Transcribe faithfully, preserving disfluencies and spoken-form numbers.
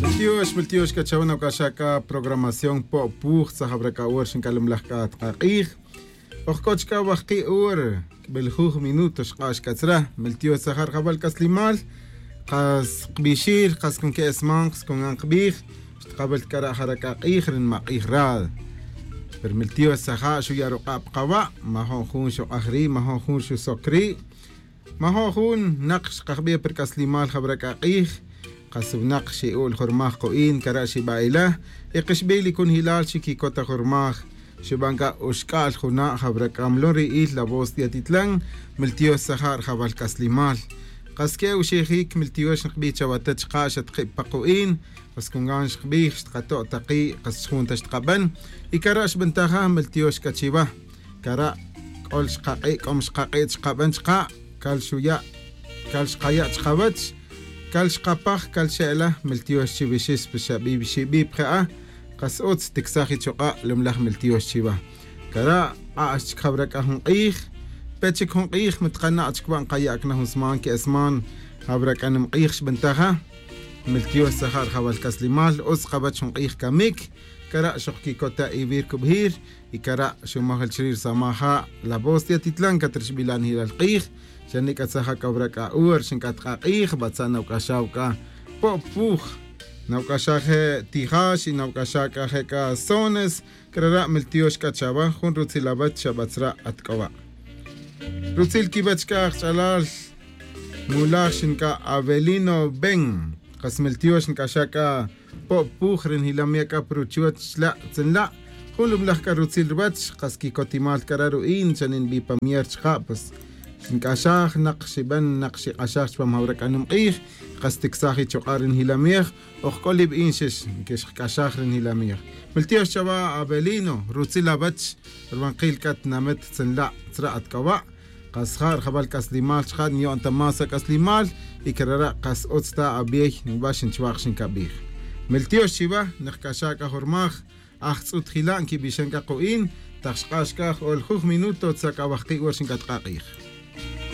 Miltiox miltiox c'a chawe nawac'axa c'a programación po'puj tzajabra c'a hora xinc'alemlaj c'a tkak'ij. Oj c'o chic'a wajki' hora, q'uibel juj minuto xk'ax c'a tzra. Miltiox tzaja' rjawal c'aslimal. Kas kbixir kas con que'esman kas con gan kbij. Xtkawel c'a ra' jara c'a k'ij ri nmak'ij rad. Pero miltiox tzaja' xuya' ruk'a' pa kawa'. Majo' jun xuk'aj ri' majo' jun xusoc ri'. Majo' jun nak xkajbi' pa ri c'aslimal jawra c'a k'ij. Kas winak xi'ul jurmaj ku'in cara' xiba'ila. Y kixbi' li conjelal xiquicot ta jurmaj. Xuban c'a uxc'al juna' jawra c'a mlon ri'il la voz de atitlan. Miltiox tzaja' rjawal c'aslimal. Kas que'e uxejic miltiox nkbi' chawa ta chka' xatkib pa ku'in. Kas con gan xkbij xtkato' taki' kas chjun ta xtkaban. Y cara' xbentaja miltiox c'a chiwa. Cara' c'ol xkak'i' c'om xkak'i' chkaban chka'. Cal xuya'. Cal xkaya' chkawech. Cal xkapaj cal xe'la miltiox chiwixix pa xabi' xibi' pa je'a. Kas utz ticsaj ichuk'a' lumlaj miltiox chiwa. Cara' k'ax chic jawra c'a jun k'ij. Pe chic jun k'ij matkana' chic wa' nkayac na jun sman que'esman. Jawra c'a nimk'ij xbentaja. Miltiox tzaja' rjawal c'aslimal utz kawech jun k'ij camic. Cara' xokquicot ta iwir cubijir. Y cara' xumaj el chiri' ri samaja' la voz de atitlan catrixbila' nijilal k'ij. Xa nic'a tzaja' c'a wra c'a hora xinc'at k'a k'ij batza' nawc'axaw c'a. Po'puj. Nawc'axa je' tijax y nawc'axa c'a je' c'a sones. Crara' miltiox c'a chawa jun rutzil awech xa batzra' at c'o wa'. Rutzil quiwech c'a ajch'alal. Mulaj xinc'a avelino ben. Kas miltiox nc'axa c'a po'puj ri njilam ya' c'a pa ruchuoch chla' tzanla'. Jun lumlaj c'a rutzil ruwech kas quicotimal c'a ra ru'in xa ninbi pa mier chka' pues. Xinc'axaj nak xiben nak xik'axaj chupam jawra c'a nimk'ij. Kas ticsaj ichuk'a' ri njilamej. Oj c'o li bi'in xix nquixk'axaj ri njilamej. Miltiox chawa avelino rutzil awech. Rubankil c'a tinamet tzanla' tzra' at c'o wa'. Kas ja' rjawal c'aslimal chka' niyo'n ta más ac'aslimal. Y crara' kas utz ta abiey nba xinchwaj xincabij. Miltiox chiwa. Nikc'axa c'a jurmaj. Ajtz'ut jila' nquibixan c'a ku'in. Tak xk'ax c'a j'ol juj minuto tza c'a wajki' wor xinc'at k'a k'ij.